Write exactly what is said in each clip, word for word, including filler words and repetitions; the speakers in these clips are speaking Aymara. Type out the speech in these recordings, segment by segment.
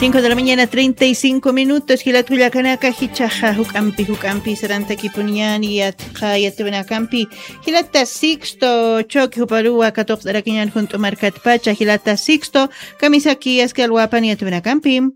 Cinco de la mañana, treinta y cinco minutos. Jilat kullakanaka, jichhaxa juk'ampi, juk'ampi sarantakipuniyani yatqa yatiwinakampi. Jilata Sixto Choque juparuwa katuqt'arakiñan junt'u markatpacha. Jilata Sixto, kamisaki aski alwapan yatiwinakampi.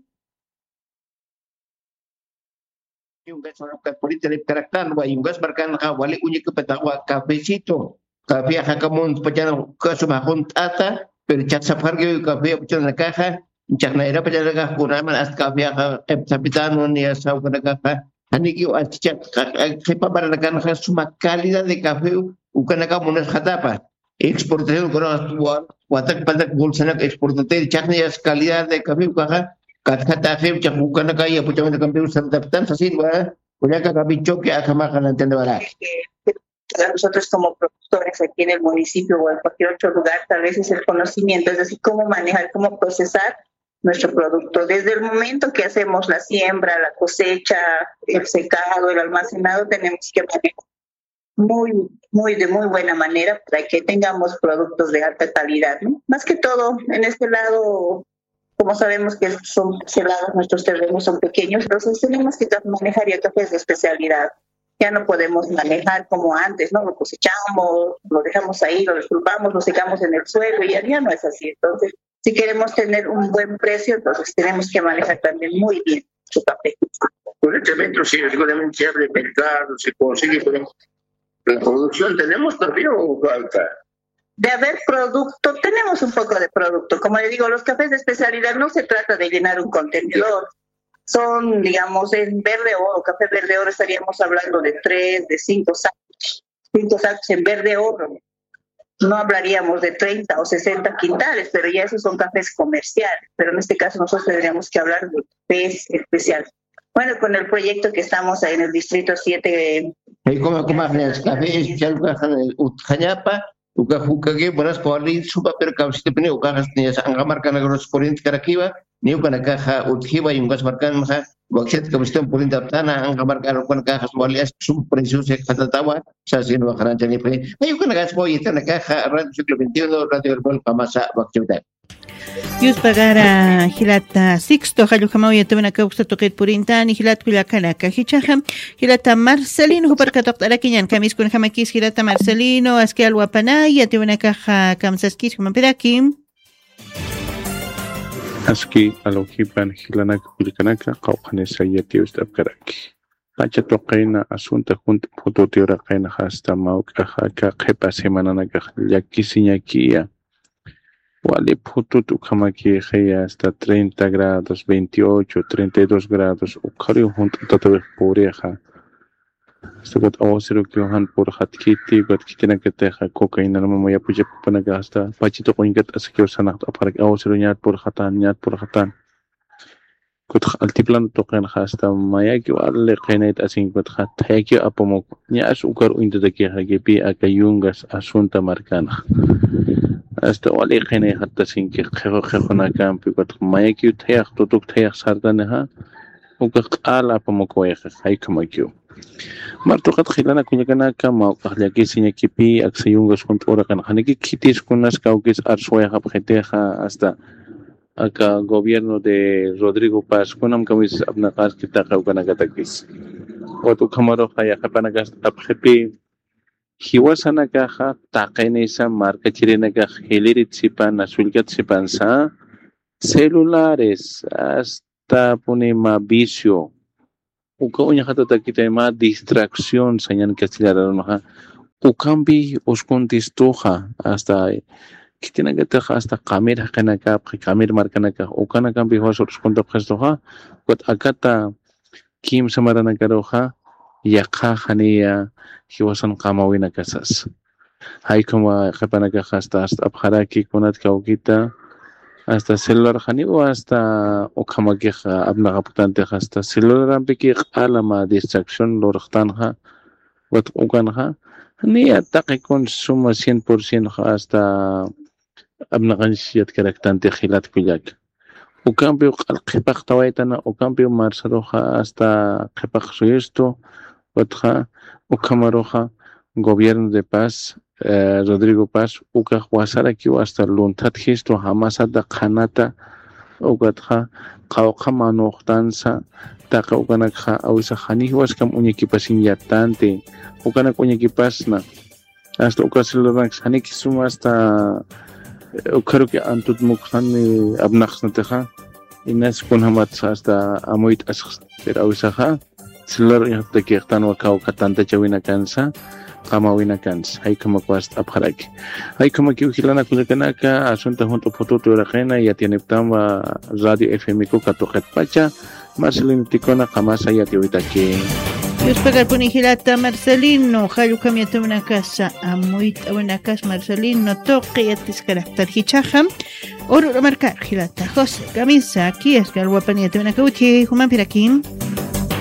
Yungas markan purita ripkaraktan, wa yungas markanxa wali uñikapatawa cafecito. Café jakamun pachana kasuma junt'ata, pero chaqsapxarkiw café pachanakaxa, chaqnayra pachanakax kunaman hasta café q'ipsapitanwan, ni hasta ukanakaxa, janikiw hasta chaq-, qa-, qa-, qhipa maranakanxa suma calidad de café ukanaka munasxatapa. Exportación, kuna wa-, watak patak bolsanak exportatir, chaqnayas calidad de café ukaxa, katjataxiw chaq ukanaka yapuchawinakampiw sartaptan sasinwa, kullaka café Choque akhamaxa nantanawara. Para nosotros como productores aquí en el municipio o en cualquier otro lugar, tal vez es el conocimiento, es decir, cómo manejar, cómo procesar nuestro producto. Desde el momento que hacemos la siembra, la cosecha, el secado, el almacenado, tenemos que manejar muy, muy, de muy buena manera para que tengamos productos de alta calidad, ¿no? Más que todo, en este lado, como sabemos que son cerrados, nuestros terrenos son pequeños, entonces tenemos que manejar ya cafés de especialidad. Ya no podemos manejar como antes, ¿no? Lo cosechamos, lo dejamos ahí, lo desculpamos, lo secamos en el suelo y ya, ya no es así. Entonces, si queremos tener un buen precio, entonces tenemos que manejar también muy bien su café. Por este evento, sí, seguramente se abre mercado, se consigue, pero la producción tenemos todavía o falta. De haber producto, tenemos un poco de producto. Como le digo, los cafés de especialidad no se trata de llenar un contenedor. Son, digamos, en verde oro, café verde oro estaríamos hablando de tres, de cinco sacos, cinco sacos en verde oro. No hablaríamos de treinta o sesenta quintales, pero ya esos son cafés comerciales. Pero en este caso nosotros tendríamos que hablar de cafés especiales. Bueno, con el proyecto que estamos en el distrito siete. Ay, como, como, café especial, utjañapa, uka jukaki, buenas, kuali, supa, pero café, uka, anqa markanakax purintkarakiwa, ni ukanakaxa utjiwa, yungas markanxa, wakchat café purinta aptana, anqa markan ukanakaxa wali, sum precios, qatatawa, sasin waqaranchanipi. Ay, ukanakax, oye, tanakaxa, Radio Siglo veintiuno, Radio Herbol, Pamasa, wakchuta. Yuspagara jilata Sixto, jallujamaw yatiwanaka uksa tuqit purintani, jilat kullakanaka. Jichhaxa, jilata Marcelino, jupar katuqt'arakiñan, kamiskunjamakis jilata Marcelino, aski alwapanay, yatiwanakaxa, kamsaskis, jumampiraki. Aski alwajipan jilanak kullakanaka, qawqhanisa yatiyust'apkaraki. Pacha tuqina asunta junt phutut uraqinxa hasta mawk'axa aka qhipa semananakax llakisiñakiya. Wali phutut ukhamakixiya hasta treinta grados, veintiocho, treinta y dos grados, ukhariw junt'atatawix purixa. Hasta ukat aguacerokiw jan purxatkiti, ukat khitinakatixa cocainanmama yapuchapapanaka hasta pacha tuqinkat asakiw sanaxt'apxaraki, aguacero ñat purxatan, ñat purxatan. Kutx altiplano tuqinxa hasta mayakiw wali qinayt asinki, kutxa thayakiw apamuk, ñas ukar uñtatakixa kipi aka yungas asunta markanxa. Hasta wali qinayxat asinki qhixu qhixunakampi, kutx mayakiw thayax, tutuk thayax sartanixa, ukax q'al apamuk wayxix, jaykhamakiw. Martuqat jilana kullakanaka, mawk'ax llakisiñakipi, aksa yungas junt'u uraqinxa, janiki khitis kunas kawkis arswayxapxitixa, hasta aka gobierno de Rodrigo Paz, kunam kamisas apnaqaski taqi ukanakatakis. Ukat ukhamaruxa yaqhipanakax apxipi, jiwasanakaxa taqinisa markachirinakax jiliritsipan, nasullkatsipansa, celulares, hasta puni mä vicio, uka uñjatatakitay mä distracción sañan castellano arunxa. Ukampi uskuntistuxa, hasta khitinakatix hasta qamir jaqinakapxi, qamir markanakax, ukanakampi jiwasa uskuntapxistuxa, ukat akata kimsa maranakaruxa, yaqha janiya jiwasan qamawinakasas. Jaykhama qhipanakax hasta, hasta apxaraki kunat kawkita, hasta celular janiw hasta ukhamakix apnaqapktantix hasta celularampiki q'ala mä distracción lurxtanxa, ukat ukanxa, niya taqi kun suma cien por ciento hasta apnaqanch yatkaraktanti jilat kullak. Ukampiw q'al qhipaqtawaytana, ukampiw marsaruxa hasta qhipaq suyustu, utxa ukhamaruxa gobierno de paz, eh, Rodrigo Paz, ukax wasarakiw hasta lunthatjistu jamasata qhanata, ukatxa qawqha manuxtansa, taqi ukanakxa awisax janiw jiwaskam uñakipasiñ yattanti, ukanak uñakipasna. Hasta uka celularnak janiki suma hasta, eh, ukharuki antut mukxani apnaqsnatixa. Inas kunjamatsa hasta amuyt'asxsna. Pero awisaxa celular uñjaptakixtanwa kawkha tantachawinakansa, qamawinakansa. Jaykhamakwast'apxaraki. Jaykhamakiw jilanaka kullakanaka, asunta junt'u phututi uraqina, yatiyaniptanwa Radio F M ku katuqitpacha, Marcelino Ticona qamasa yatiyawitaki. Yuspakarpuni jilata Marcelino, jallukam yatiyawinakasa, amuyt'awinakas Marcelino, tuqi yatiskaraktar jichhaxa, ururamarkar jilata José Camisa, kiyaskar wapan yatiyawinaka utji, jumampirakim.